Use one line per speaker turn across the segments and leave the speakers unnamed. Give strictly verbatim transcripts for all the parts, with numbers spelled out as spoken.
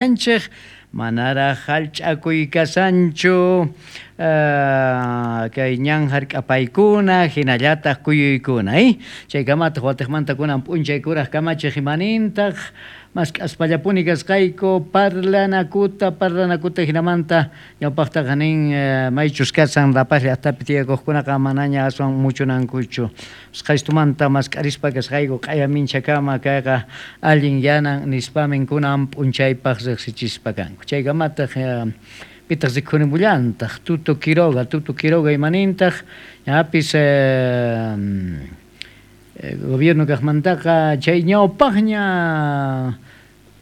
Anchej manaraj hallch'akuy kasanchu kay ñan hark'apaykuna hinallataq kuyuykuna eh chaykamataq watiqmanta kunan p'unchay kuraq kamachiq imanintaq mask'aspallapuni kasqayku parlanakuta parlanakuta hinamanta ñawpaqtaqa nin maychus kasan La Paz llaqtapi tiyakuqkunaqa manaña aswan muchunankuchu usqhaystumanta mask'arispa kasqayku q'aya minchakama kayqa allin yanan nispamin kunan p'unchaypaq riqsichispa kanku chaykamataq pitaq rikhurimullantaq Tuto Quiroga Tuto Quiroga imanintaq ñapis gobierno kaqmantaqa chay ñawpaqña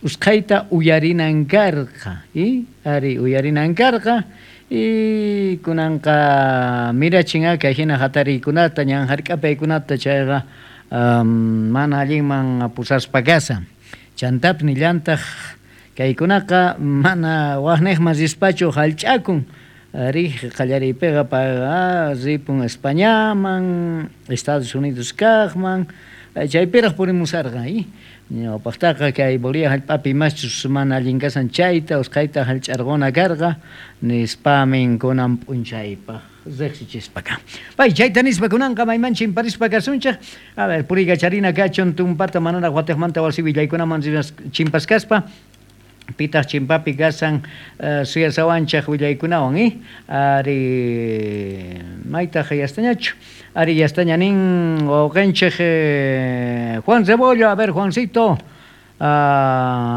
usqhayta uyarinan karqa y ari uyarinan karqa y kunanqa mirachin kay hina hatariykunata ñan hark'apaykunata chayqa mana allinman pusaspa kasan chantapis nillantaq kaykunaqa mana waqniqman rispachu hallch'akun riq qallariypiqa payqa ripun Españaman Estados Unidos kaqman chaypiraq purimusarqa y ñawpaqtaqa kay Bolivia hallp'api imaschus mana allin kasan chayta usqhayta hallch'arquna karqa nispamin kunan p'unchaypaq riqsichispa kan. Pay chayta nispa kunanqa mayman chimparispa kasunchik a ver puriykacharina kachun tumpata manaraq watiqmanta wasi willaykunaman chimpaskaspa pitaq chimpapi kasan suyasawanchaq willaykunawan eh ari maytaq yastañachu ari yastaña nin wawqinchik Juan Rebollo a ver Juancito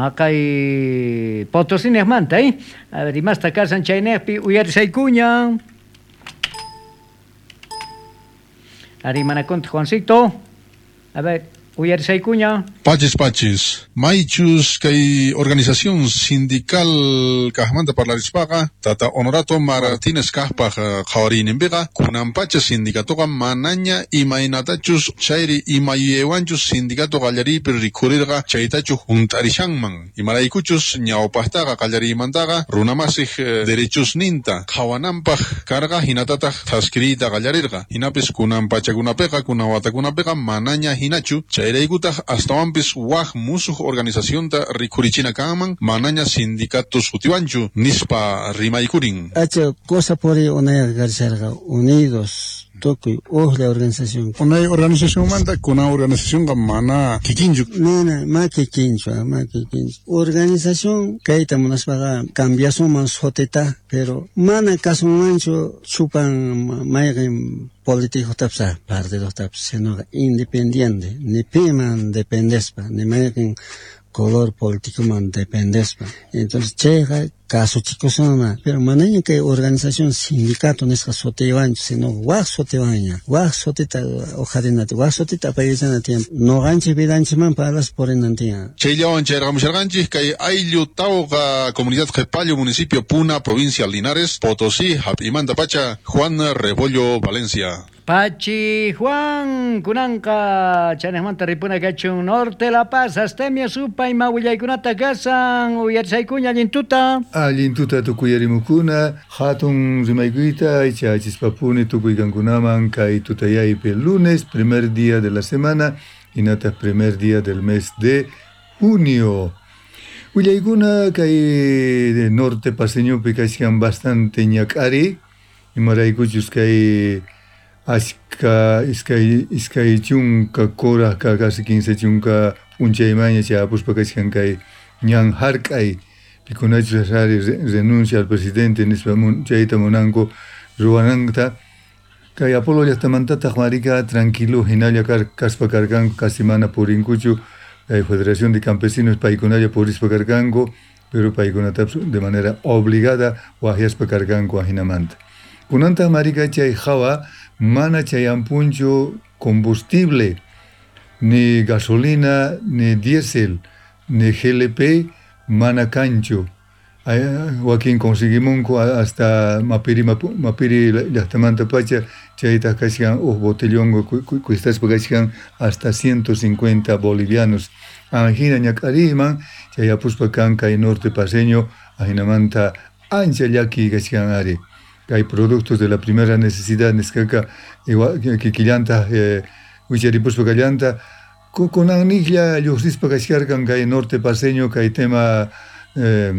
haqay Potosiniqmanta eh a ver imasta kasan chayniqpi uyarisaykuña ari manakunta Juancito a ver uyarisaykuña.
Pachis pachis, maychus kay organización sindical kajmanta parlarispaqa tata Honorato Martínez kajpaj qhawariyninpiqa kunanpacha sindicatoqa manaña imaynatachus chayri imayuyaywanchus sindicato qallariypi rikhurirqa chaytachu hunt'arishanman imaraykuchus ñawpaqtaqa qallariymantaqa runamasij derechosninta qhawananpaq karqa hinatataq thaskiriyta qallarirqa hinapis kunan pachakunapiqa kunan watakunapiqa manaña hinachu chayraykutaq astawanpis waj musuq organizacionta rikhurichina kanman manaña sindicatos sutiwanchu nispa rimaykurin.
Acha cosa puri unayqa karisharqa unidos tukuy ujlla organización.
Unay organizacionmanta kunan organizacionqa mana kikinchu.
Mana ma kikinchu, ma kikinchu. Organización kayta munaspaqa cambiasunman sutita, pero mana kasunmanchu chupan mayqin político tapsa, partido tapsa, sino independiente, ni piman dependespa, ni mayqin color político man dependespa. Entonces chayqa kasuchikusuna, pero manaña kay organización sindicato nisqa sutiwanchu, sino waj sutiwanña, waj sutita uqharinata, waj sutita apaykachana tiyan, noqanchik vidanchikman parlas purinan tiyan.
Chayllawan chayrqamusharqanchik kay ayllu Tauqa, comunidad Qepallo, municipio Puna, provincia Linares, Potosí, hap'imanta pacha, Juan Rebollo, Valencia.
Pachi Juan, kunanqa chaniqmanta ripuna kachun Norte La Paz, Astemia supa ima willaykunata kasan uyarisaykuña allin tuta.
Allin tuta tukuyarimukuna, hatun rimaykuyta ichachispapuni tukuykankunaman kay tutayaypi lunes, primer día de la semana, hinataq primer día del mes de junio. Willaykuna kay norte paseñopi kachkan bastante ñak'ari, imaraykuchus kay ashka iskay iskay chunka kurajka casi quince chunka p'unchaymaña chayapuspa kachkan kay ñan hark'ay pikunachus ari renuncia al presidente nispa chayta munanku ruwananta kay Apolo llaqtamantataq marika tranquilo hinalla kaspa karkanku casi mana purinkuchu kay Federación de Campesinos paykunalla purispa karkanku pero paykunatapas de manera obligada waqyaspa karkanku ajinamanta kunantaq marika chay hawa mana chayampunchu combustible, ni gasolina, ni diésel, ni G L P, mana kanchu. Wakin conseguimunku hasta Mapiri, Mapiri llaqtamanta pacha, chaytaq kachkan uj botellón cuestaspa kachkan hasta ciento cincuenta bolivianos. Ajina ñak'ariyman chayapuspa kan kay norte paseño, ajinamanta ancha llaki kachkan ari. Hay productos de la primera necesidad nisqaqa kikillanta wicharipuspa kallanta kunanniqlla lluqsispa kachkarqan kay norte paseño kay tema Eh,